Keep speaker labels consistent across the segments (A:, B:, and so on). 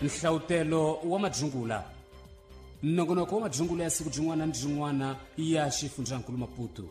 A: Nhlavutelo wa madzungula, nongonoko wa madzungula ya siku rin'wana ni rin'wana ya xifundzankulu Maputo.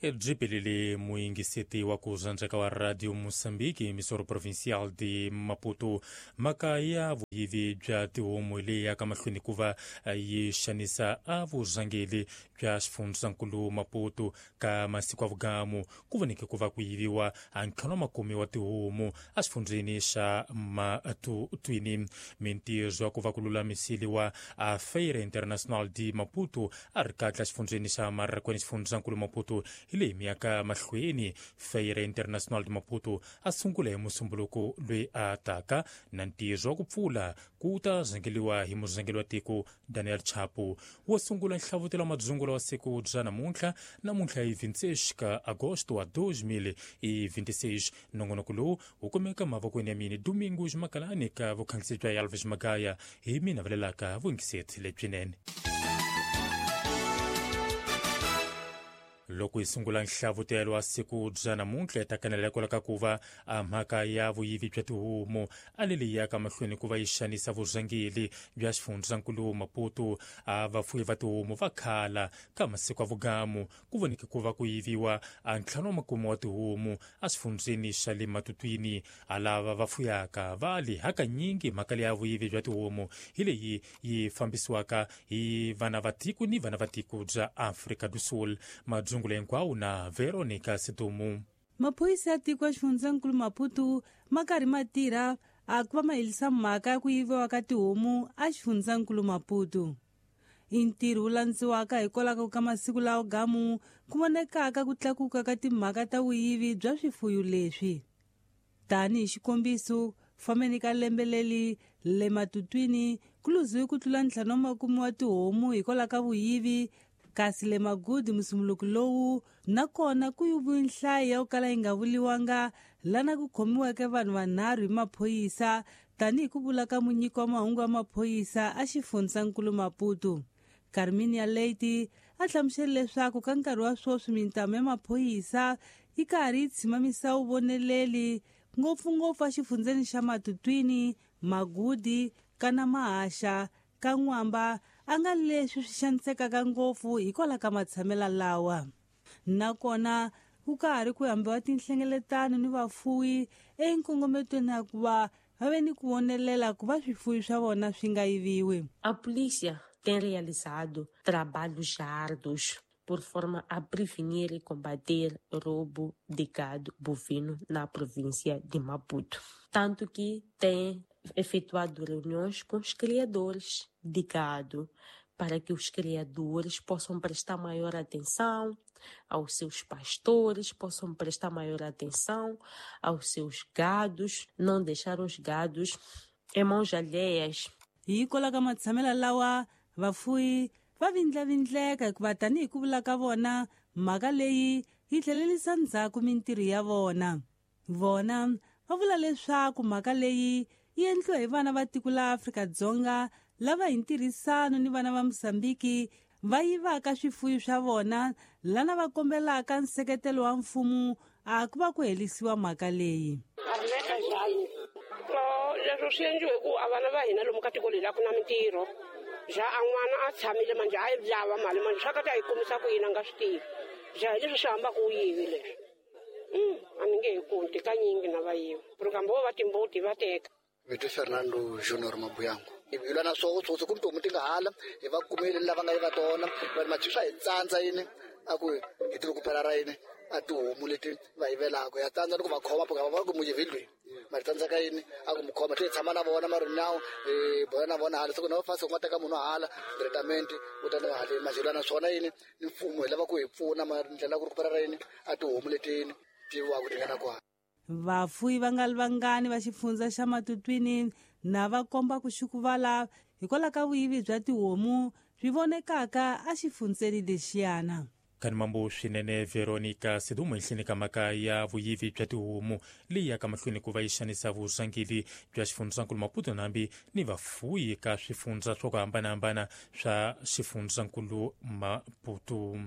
B: Byi muyingiseti wa ku rhandzeka wa Radio Moçambique, emissora provincial de Maputo. Mhaka ya vuyivi bya tihomu leyi yaka mahlweni ku va yi xanisa a vurhangeri bya xifundzankulu Maputo ka masiku ya vugamu, ku voneke ku va ku yiviwa a ntlhanu wa makume wa tihomu exifundzheni xa Matutwini. Mintirho ya ku va ku lulamiseriwa a Feira Internacional de Maputo a ri kahle exifundzheni xa Marraquene, xifundzankulu Maputo, hi leyi miyaka mahlweni. Feira Internacional de Maputo a sungula hi Musumbuluko loyi a taka, na ntirho wa ku pfula ku ta rhangeriwa hi murhangeri wa tiko Daniel Chapo. Wo sungula nhlavutelo wa madzungula wa siku bya namuntlha, namuntlha hi 26 ka agosto wa 2026. Nongonoko lowu wu kumeka mavokweni ya mina Domingos Makalani, ka vukhandzisi bya Elvis Magaya. Hi mina vulelaka vuyingiseti lebyinene. Loko hi sungula nhlavutelo wa siku bya namuntlha, hi ta kanela kwala ka ku va a mhaka ya vuyivi bya tihomu a leyi yaka mahlweni ku va yi xanisa vurhangeri bya xifundzankulu Maputo. A vafuyi va tihomu va khala ka masiku ya vugamu ku voneke ku va ku yiviwa a ntlhanu wa makume wa tihomu exifundzheni xa le Matutwini. A lava va fuyaka va li hakanyingi mhaka leya vuyivi bya tihomu hi leyi yi fambisiwaka hi vana va tiko ni vana va tiko bya Afrika do Sul. Madzungula hinkwawo na Veronica Sidumu.
C: Maphorisa ya tiko ya xifundzankulu Maputo ma karhi ma tirha a ku va ma herisa mhaka ya ku yiviwa ka tihomu a xifundzankulu Maputo. I ntirho wu landziwaka hikwalaho ka masiku lawa gamu ku vonekaka ku tlakuka ka timhaka ta vuyivi bya swifuyo leswi. Tanihi xikombiso, fambeni ka lembe leri le Matutwini ku luziwe ku tlula 50 wa tihomu hikwalaho ka vuyivi, kasi le Magudi musumuluko lowu nakona ku yiviwe nhlayo ya ku kala yi nga vuliwanga, lana ku khomiweke vanhu vanharhu hi maphorisa, tanihi ku vula ka munyiki wa mahungu wa maphorisa a xifundzankulu Maputo. Carminia Leite a hlamusele leswaku ka nkarhi wa sweswi mintamu ya maphorisa yi karhi yi tshimamisa vuvoneleli ngopfungopfu exifundzeni xa Matutwini, Magudi, kana Mahaxa, ka N'wamba, a nga leswi swi xanisekaka ngopfu hikwalaho ka matshamelo lawa. Nakona ku karhi ku hambiwa tinhlengeletano ni vafuwi enkongometweni ya ku va va ve ni ku vonelela ku va swifuwi swa vona swi nga yiviwi.
D: A polícia tem realizado trabalhos árduos por forma a prevenir e combater roubo de gado bovino na província de Maputo. Tanto que tem efetuado reuniões com os criadores de gado, para que os criadores possam prestar maior atenção aos seus pastores, possam prestar maior atenção aos seus gados, não deixar os gados em mãos alheias.
C: Hikwalaho ka matshamelo lawa, vafuwi va vindlavindleka hikuva tanihi ku vula ka vona, mhaka leyi yi tlhelerisa ndzhaku mintirho ya vona. Vona va vula leswaku mhaka leyi yi endliwa hi vana va tiko la Afrika-Dzonga lava hi ntirhisano ni vana va Mozambique va yivaka swifuwo swa vona, lana va kombelaka nseketelo wa mfumo a ku va ku herisiwa mhaka leyi.
E: Leswo swi endliwe ku a vana va hina lomu ka tiko leri a ku na mintirho. Ja a n'wana a tshamile manje a yi lava mali manje swa ka ta yi kumisa ku yini a nga swi tivi. Ja hi leswi swi hambaka u yivi leswi. A ni nge he kunti kanyingi na va yiva. Ku vo va timbuti va teka.
F: Vito Fernando Junior Mabuyango. Hi lwa na swoho tsotsi ku tihomu ti nga hala, hi va kumile lava nga yiva tona, va ri machi swa hi tsandza yini, a ku hi ti ku phela ra yini, a tihomu leti va yivelaka. Ya tsandza ni ku va khoma, va va ku muyivi loyi. Mara tsandzeka yini, a ku mu khoma, tlhe hi tshama na vona mara now, hi bola na vona hala. Se ku na va fasi ku nga teka munhu hala, testament, u ta na haleni. Manje hi lwa na swona yini, ni mfumo hi lava ku hi pfuna, mara ndlela ku ri ku phela ra yini, a tihomu leti yini, ti yiviwaka ti nga na kwala.
C: Vafuwi va nga ri vangani va xifundza xa Matutwini na va komba ku xukuvala hikwalaho ka vuyivi bya tihomu swi vonekaka exifundzeni lexiyana.
B: Kanimambo swinene Veronica Sidumo ehenhleni ka mhaka ya vuyivi bya tihomu leyi yaka mahlweni ku va yi xanisa vurhangeri bya xifundzankulu Maputo nambi ni vafuwi ka swifundza swa ku hambanahambana swa xifundzankulu Maputo.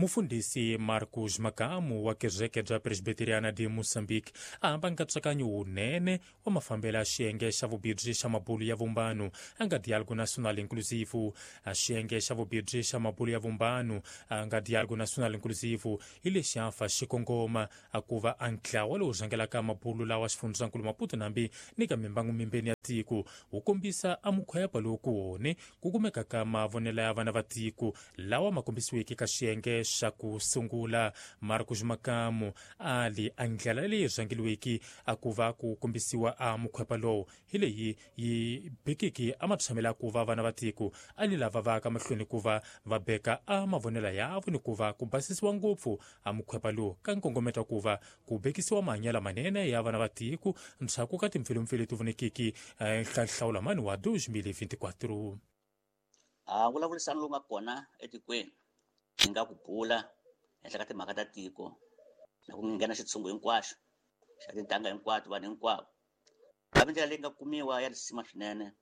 B: Mufundhisi Marcos Makamu wa kereke bya Presbiteriana de Moçambique a hamba nkatsakanyo wunene wa mafambelo ya xiyenge xa vubirhi xa mabulu ya vumbano a nga Diálogo Nacional Inclusivo. A xiyenge xa vubirhi xa mabulu ya vumbano a nga Diálogo Nacional Inclusivo hi lexi a fa xikongoma a ku va a ntlawa lowu rhangelaka mabulu lawa xifundzankulu Maputo nambi ni ka mimbangu mimbeni ya tiko wu kombisa a mukhwepa lowu ku wone ku kumeka ka mavonelo ya vana va tiko lawa ma kombisiweke ka xiyenge xa ku sungula. Marcos Makamu a li a ndlela leyi rhangeliweke a ku va ku kombisiwa a mukhwepa lowu hi leyi yi bekeke a matshamelo ya ku va vana va tiko a li lava va ka mahlweni ku va va beka a mavonelo yavo ni ku va ku basisiwa ngopfu a mukhwepa lowu ka nkongometo ku va ku bekisiwa mahanyelo manene ya vana va tiko ndzhaku ka timpfilumpfilu leti vonekiki nhlawulo mani wa 2024.
G: A vulavurisano lowu nga kona etikweni ni nga ku bula henhla ka timhaka ta tiko na ku nghena xitshungu hinkwaxo xa tintangha hinkwato vanhu hinkwavo hambi ndlela leyi nga kumiwa ya risima swinene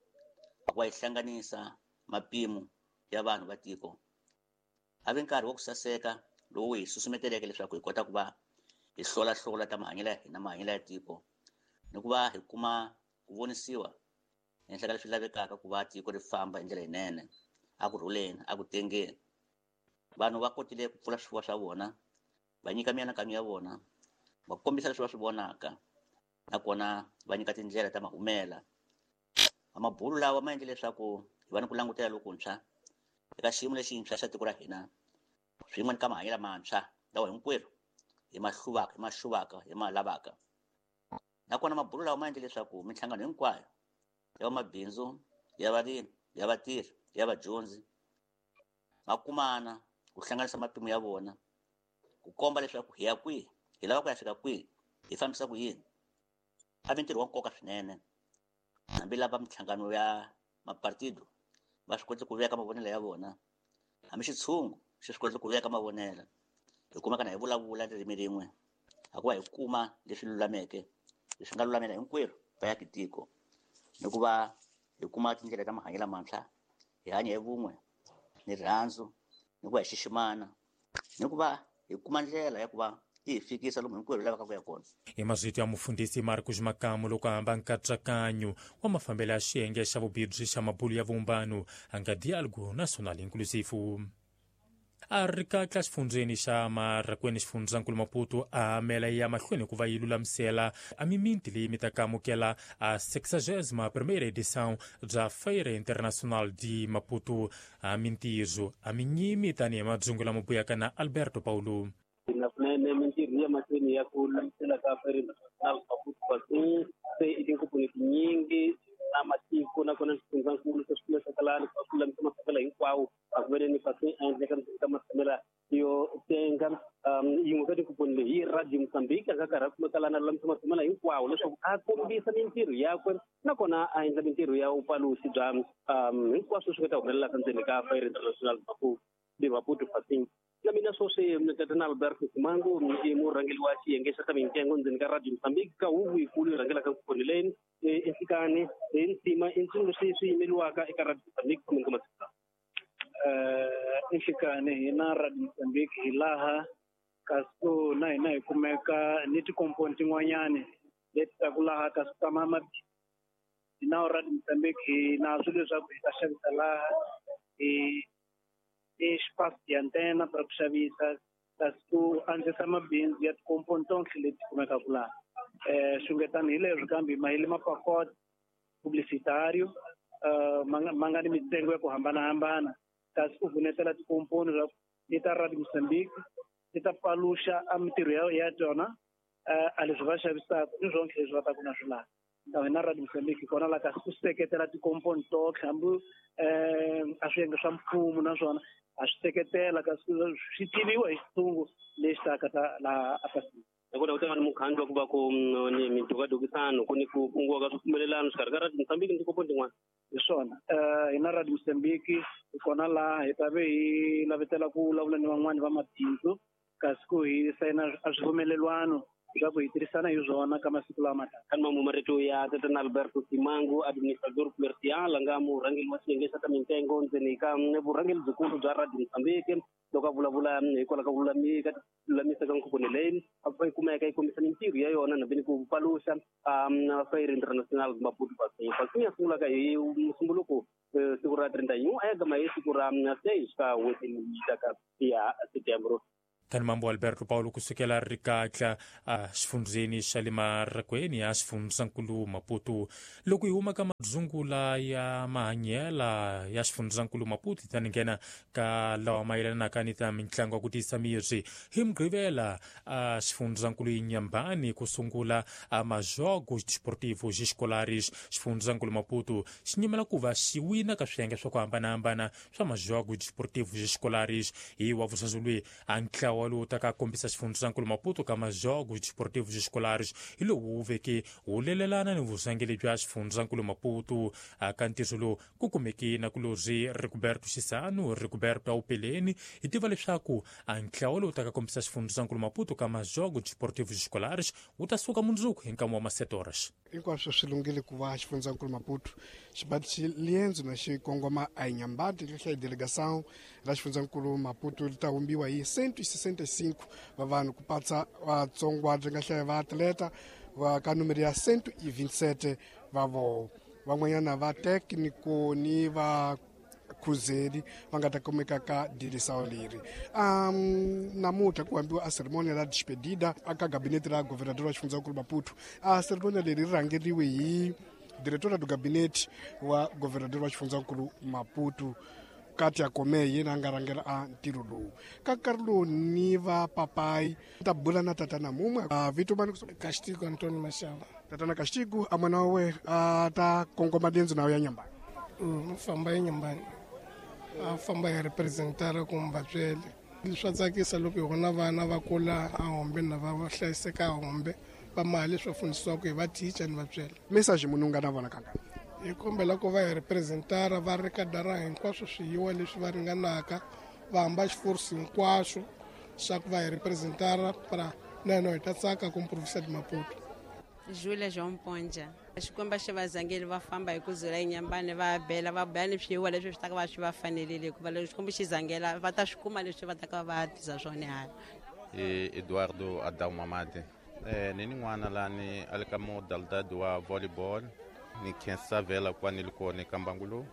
G: a ku va yi hlanganisa mapimo ya vanhu va tiko. Hambi nkarhi wa ku saseka lowu hi susumeteleke leswaku hi kota ku va hi hlolahlola ta mahanyelo ya hina mahanyelo ya tiko ni ku va hi kuma ku vonisiwa henhla ka leswi lavekaka ku va tiko ri famba hi ndlela yinene a ku rhuleni a ku tengeni. Vanhu va kotile ku pfula swifuwo swa vona va nyika mianakanyo ya vona va kombisa leswi va swi vonaka nakona va nyika tindlela ta mahumela. Mabulu lawa ma endle leswaku hi va ni ku langutela lokuntshwa eka xiyimo lexintshwa xa tiko ra hina swin'we ni ka mahanyelo mantshwa lawa hinkwerhu hi ma hluvaka hi ma xuvaka hi ma lavaka. Nakona mabulu lawa ma endle leswaku minhlangano hinkwayo ya vamabindzu ya varimi ya vatirhi ya vadyondzi ma kumana ku hlanganisa mapimo ya vona ku komba leswaku hi ya kwihi hi lava ku ya fika kwihi hi fambisa ku yini. A vi ntirho wa nkoka swinene hambi lava minhlangano ya mapartido va swi koti ku veka mavonelo ya vona hambi xitshungu xi swi koti ku veka mavonelo hi kumeka na hi vulavula ririmi rin'we a ku va hi kuma leswi lulameke leswi nga lulamela hinkwerhu va ya tiko ni ku va hi kuma tindlela ta mahanyelo mantshwa hi hanya hi vun'we ni rirhandzu ni ku va hi xiximana ni ku va hi kuma ndlela ya ku va yi hi fikisa lomu hinkwerhu lavaka ku ya kona.
B: Hi mazito ya mufundhisi Marcos Makamu loko a hamba nkatsakanyo wa mafambelo ya xiyenge xa vubirhi xa mabulu ya vumbano a nga Diálogo Nacional Inclusivo. A ri katla xifundzeni xa Marrakwene xifundzankulu Maputo a mela ya mahlweni ku va yi lulamisela a miminti leyi mi ta ka amukela a 61ª edição bya Feira Internacional de Maputo. A mintirho a minyimi tanihi madzungu lama buyaka na Alberto Paulo.
H: Kunene mintirho ya mahlweni ya ku lulamisela ka Feira Internacional Maputo kasi se i tinkomponi tinyingi na matiko nakona swifundzankulu se swi kumeka lani ku lulamisa matshamelo hinkwawo a ku veni kasi a endleka ka matshamelo yo tenga. Yin'we ka tinkomponi leyi hi Radio Mozambique a nga karhi a kumeka lani a lulamisa matshamelo hinkwawo leswaku a kombisa mintirho yakwe nakona a endla mintirho ya vupaluxi bya hinkwaswo swi nga ta humelelaka ndzeni ka Feira International Maputo de Maputo Fasing. Na mina sweswi tatana Alberto Simango i murhangeri wa xiyenge xa ta mintsengo ndzeni ka Radio Mozambique ka huvo yikulu yi rhangelaka nkomponi leyi enhlikani hi ntima i ntsumi leswi swi yimeriwaka eka Radio Mozambique kumbe ka masiku lawa.
I: Enhlikani hina Radio Mozambique hi laha kasi na hina hi kumeka ni tikomponi tin'wanyani leti taku laha kasi ta hina Radio Mozambique hi na swilo leswaku hi ta xavisa laha hi espaço de antena para ku xavisa kasi ku andzisa mabindzu ya tikomponi tonke leti kumekaka laha. Xungetani hi leswi kambe mahile mapacote publicitario ma nga ni mitsengo ya ku hambanahambana kasi ku vunetela tikomponi ti ta Radio Mozambique ti ta paluxa a mintirho ya tona a leswi va xavisaka ni swonke leswi va taku na swi laha. Hina Radio Mozambique kona la kasi ku seketela tikomponi totlhe hambi a swiyenge swa mfumo naswona a swi seketela kasi swi tiviwa hi xitshungu lexi taka ta laha Afrika.
H: Nakona ku ta va ni mukhandlu wa ku va ku ni midukadukisano ku ni ku kunguwa ka swipfumelelano xikarhi ka Radio Mozambique ni tikomponi tin'wana.
I: Hi swona hina Radio Mozambique hi kona laha hi ta ve hi lavetela ku vulavula ni van'wani va mabindzu kasi ku hi sayina a swipfumelelwano
H: Leswaku hi tirhisana hi swona ka masiku lama taka. Kani marito ya tatana Alberto Simango, administrador comercial a nga murhangeri wa xiyenge xa ta mintsengo ndzeni ka vurhangeri byikulu bya Radio Mozambique, loko a vulavula hikwalaho ka lulamisa ka nkhuphuni leyi a yi kumeka yi kombisa mintirho ya yona nambeni ku paluxa Feira Internacional Maputo Passeio. Passeio ya sungulaka hi Musumbuluko siku ra 31 a ya gama hi siku ra 6 ka n'hweti leyi taka ya Setembro.
B: Kani mambo Alberto Paulo kusukela rikatla a xifundzeni xa le Marakweni a xifundzankulu Maputo. Loko hi huma ka madzungula ya mahanyela ya xifundzankulu Maputo, hi ta nghena ka lawa mayelanaka ni ta mitlangu ya ku tiyisa miri. Hi Mugqivela a xifundzankulu Inhambane ku sungula a majogos desportivos escolares. Xifundzankulu Maputo xi nyimela ku va xi wina ka swiyenge swa ku hambanahambana swa majogos desportivos escolares. Hi wa vusazulwi a ntlawa lowu taka kombisa xifundzankulu Maputo ka majogos desportivos escolares hi lowu wu veke wu lelelana ni vurhangeri bya xifundzankulu Maputo. Ka ntirho lowu ku kumeke na kulorhi Rigoberto Xisano Rigoberto Aupeleni, hi tiva leswaku a ntlawa lowu taka kombisa xifundzankulu Maputo ka majogos desportivos escolares wu ta suka mundzuku hi nkama wa ma-7 horas.
J: Hinkwaswo swi lunghile ku va xifundzankulu Maputo xi ba liendzo na xi kongoma a Inhambane. Ri delegação ra xifundzankulu Maputo ri ta humbiwa hi 165 va vanhu ku patsa vatsongwana ri nga hlaya va atleta va ka numero ya 127 va voho, van'wanyana va técnico ni va khuzeli va nga ta kumeka ka dirisao leri. Namuntlha ku hambiwa a ceremonia la despedida aka gabinete ra governador wa xifundzankulu Maputo. A ceremonia leri ri rhangeriwe hi diretora do gabinete wa governador wa xifundzankulu Maputo, Katia Kome, yena a nga rhangela a ntirho lowu. Ka nkarhi lowu ni va papayi ta bula na tatana mumwe a vito mani?
K: Castigo Antonio Mashava.
J: Tatana Castigo, a n'wana wa wena a ta kongoma liendzo nayo ya Nyambani?
K: Famba eNyambani, a famba hi representara kumbe vatswele. Swa tsakisa loko hi vona vana va kula ahombe na va hlayiseka ahombe va mali leswi va fundisiwaka hi va teacher ni vatswele.
J: Message munhu u nga na vona kangani?
K: Hi kombela ku va hi representara va ri kadara hinkwaswo swiyiwa leswi va ringanaka, va hamba xiforsi hinkwaswo swa ku va hi representara para na hina hi ta tsaka ku province de Maputo.
L: Julia João Ponja. Xikwembu xi va zangeli va famba hi ku dzula eNyambane, va bela va bela ni swiyiwa leswi swi taka va swi va fanerile, hikuva loko Xikwembu xi zangela va ta swi kuma leswi va taka va tisa swona hala.
M: Eduardo Adão Mamade. Ni n'wana lani a le ka modalidade wa volleyball. Ni khensa vhela ku va ni ri kona eka mbangu lowu.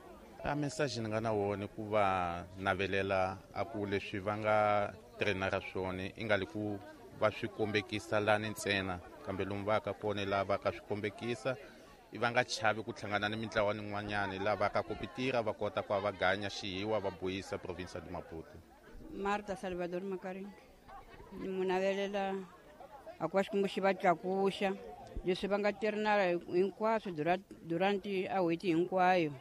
M: A message ni nga na wona ku va navelela a ku leswi va nga trainara swona i nga li ku va swi kombekisa lani ntsena, kambe lomu va ka kona laha va ka swi kombekisa i va nga chavi ku hlangana ni mintlawa nin'wanyani laha va ka kompetira, va kota ku va va ganya xihiwa va buyisa province de Maputo.
N: Marta Salvador Makaringi. Ni mu navelela a ku va Xikwembu xi va tlakuxa leswi va nga tirhinala hinkwaswo durante a n'hweti hinkwayo,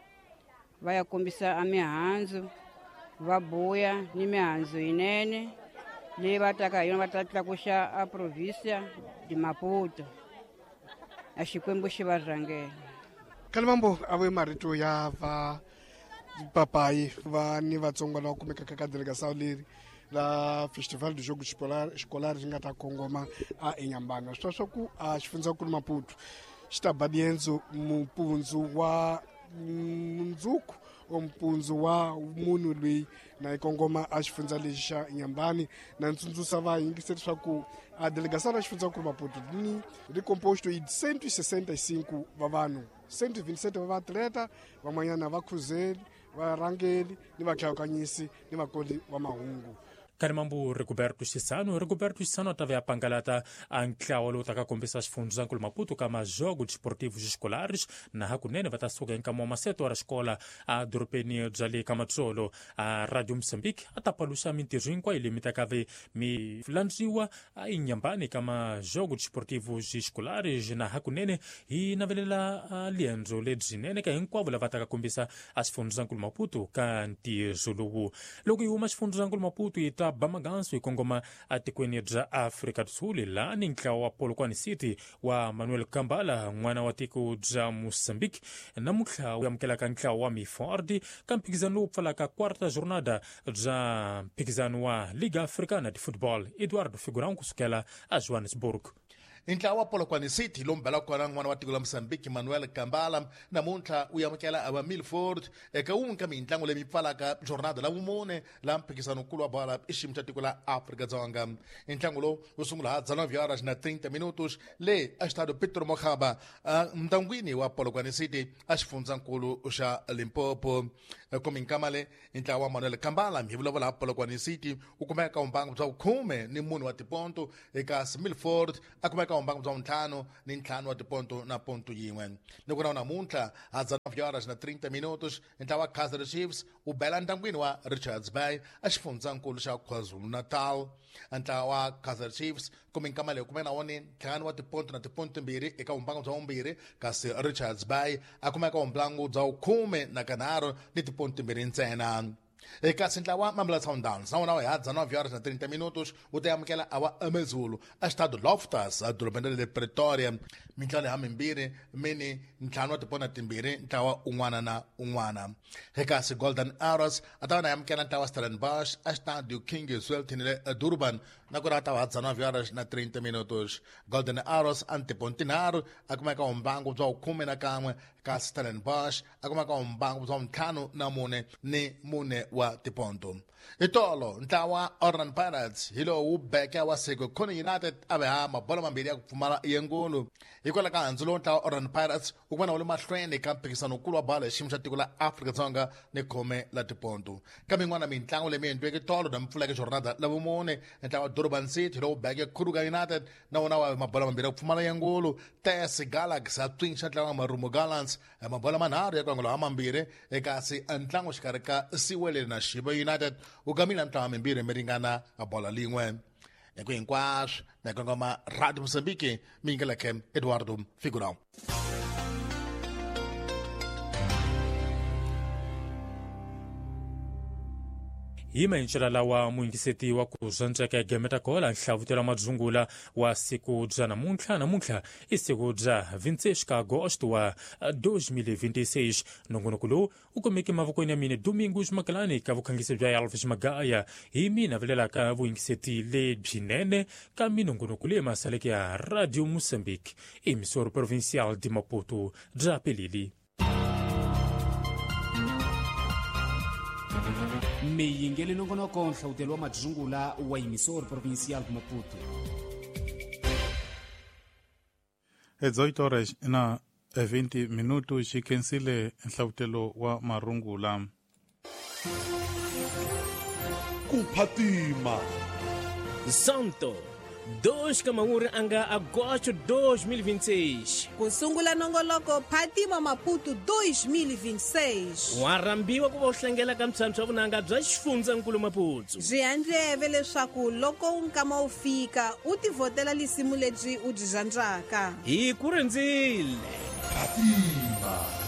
N: va ya kombisa a mihandzu, va buya ni mihandzu yinene leyi va taka hi yona, va ta tlakuxa a provinsia de Maputo. A Xikwembu xi va rhangela.
J: Kalimambo a ve marito ya va papayi va ni vatsongo lava kumekaka ka delegação leri la Festival do Jogo Escolar ri nga ta kongoma a eNyambana. Swi swa ku a xifundzankulu Maputo xi ta ba liendzo mupundzu wa mundzuku o mpundzu wa munhu loyi na yi kongoma a xifundza lexi xa Nyambani. Na ntsundzuxa va yingiseri leswaku a delegação ra xifundzankulu Maputo ni ri composto hi 165 va vanhu, 127 va vaatleta, van'wanyana va khuzeli, varhangeli ni vahlawukanyisi ni vakoli va mahungu.
B: Karimambu Rigoberto Xisano. Rigoberto Xisano a ta ve a pangalata a ntlawa lowu taka kombisa xifundzankulu Maputo ka majogos desportivos escolares, na hakunene va ta suka hi nkama wa maseto ra xikola a dorobeni bya le ka Matsolo. A Radio Mozambique a ta paluxa mintirho hinkwayo leyi mi taka ve mi landziwa a Inhambane ka majogos desportivos escolares, na hakunene hi navelela liendzo lebyinene ka hinkwavo lava taka kombisa a xifundzankulu Maputo ka ntirho lowu. Loko hi huma xifundzankulu Maputo hi ta ba maganso hi kongoma atikweni bya Afrika do Sul, laha ni ntlawa wa Polokwane City wa Manuel Kambala, n'wana wa tiko bya Mozambique, namuntlha wu amukelaka ntlawa wa Miford ka mphikizano lowu pfalaka quarta jornada bya mphikizano wa Liga Africana de Football. Eduardo Figurão kusukela a Johannesburg.
O: Ntlawa wa Polokwane City lowu mbelaka kona n'wana wa tiko la Mozambique Manuel Kambala namuntlha wu amukela ava Milford eka wun'we ka mintlangu leyi pfalaka jornada la vumune la mphikizano-nkulu wa bola i xiyimo xa tiko la Afrika-Dzonga. Ntlangu lowu wu sungula ha 19h30 minutos le Estadio Pedro Mokgaba ntangwini wa Polokwane City a xifundzankulu xa Limpopo. Kominkamale ntlawa wa Manuel Kambala hi vulavula ha Polokwane City wu kumeka vumbangu bya 14 wa tiponto eka Milford a kumeka vumbangu bya 55 wa tiponto na ponto yin'we. Ni ku na namuntlha ha 19h30 minutos ntlawa wa Kaizer Chiefs wu bela ntangwini wa Richards Bay a xifundzankulu xa KwaZulu-Natal. Ntlawa wa Kaizer Chiefs kuminkama leyi kumeka na wona 5 wa tiponto na tiponto 2 eka vumbangu bya 2, kasi Richards Bay a kumeka vumbangu bya 13 ni tiponto 2 ntsena. Kasi ntlawa Mamelodi Sundowns na wona wa 19h30 minutos wu ta amukela awa AmaZulu a Stade Loftus edorobeni ra le Pretoria. Mintlawa leyi mimbirhi mini 5 wa tiponto 2 ntlawa un'wana na un'wana. Kasi Golden Arrows a ta va na amukela ntlawa Stellenbosch a Stade King Zwelithini le Durban na ku ri a ta va 19h30 minutos. Golden Arrows a tiponto 3 a kumeka vumbangu bya 11, kasi Stellenbosch a kumeka vumbangu bya 54 ni 4 wa tiponto. Itolo ntlawa Orlando Pirates hi lowu beke wa Sekhukhune United a ve ha mabolo mambirhi ya ku pfumala yengulu. Hikwalaho ka handzu lowu ntlawa Orlando Pirates wu kuma na wu le mahlweni ka mphikizano-nkulu wa bolo hi xiyimo xa tiko la Afrika-Dzonga ni khume la tiponto. Kambe yin'wana mintlangu leyi mi endliweke tolo na mpfuleke jornada la vumune, ntlawa Durban City lowu beke Kruger United na wona wa mabolo mambirhi ya ku pfumala yengulu. TS Galaxy a tswinxa ntlawa wa Marumo Gallants mabolo manharhu ya ku angula ha mambirhi, kasi ntlangu xikarhi ka Siwelele na Shiba United wu gamile ntlawa mimbirhi mi ringana bola lin'we. Hi ku hinkwaswo na kongoma Radio Mozambique mi yingeleke Eduardo Figurão.
B: Hi maenxela lawa muyingiseti wa ku zwandzeka gemeta kola nhlavutelo wa madzungula wa siku bya namuntlha. Namuntlha i siku bya 26 agosto wa 2026. Nongonoko lowu wu kumeke mavokweni ya mina Domingos Makalani ka vukhangisi bya Elvis Magaya. Hi mina vilelaka vuyingiseti lebyinene ka minongonoko leyi masaleke ya Radio Mozambique, emissora provincial de Maputo bya Pelili.
A: Miyingeli nongonoko nhlawutelo wa madzungula wa emissora provincial de Maputo.
P: 18 horas na 20 minutos xi khensile nhlavutelo wa marungula.
Q: Ku phatima
R: Santo 2 ka anga agosto 2026.
S: Ku sungula nongoloko Phatima Maputo 2026.
R: Wa rhambiwa ku va u hlangela ka mphyamphya wa vunanga bya xifundzankulu Maputo.
S: Byi handleve leswaku loko nkama wu fika u tivhotela lisimu lebyi u byi rhandzaka.
R: Hi ku rindzile.
Q: Phatima.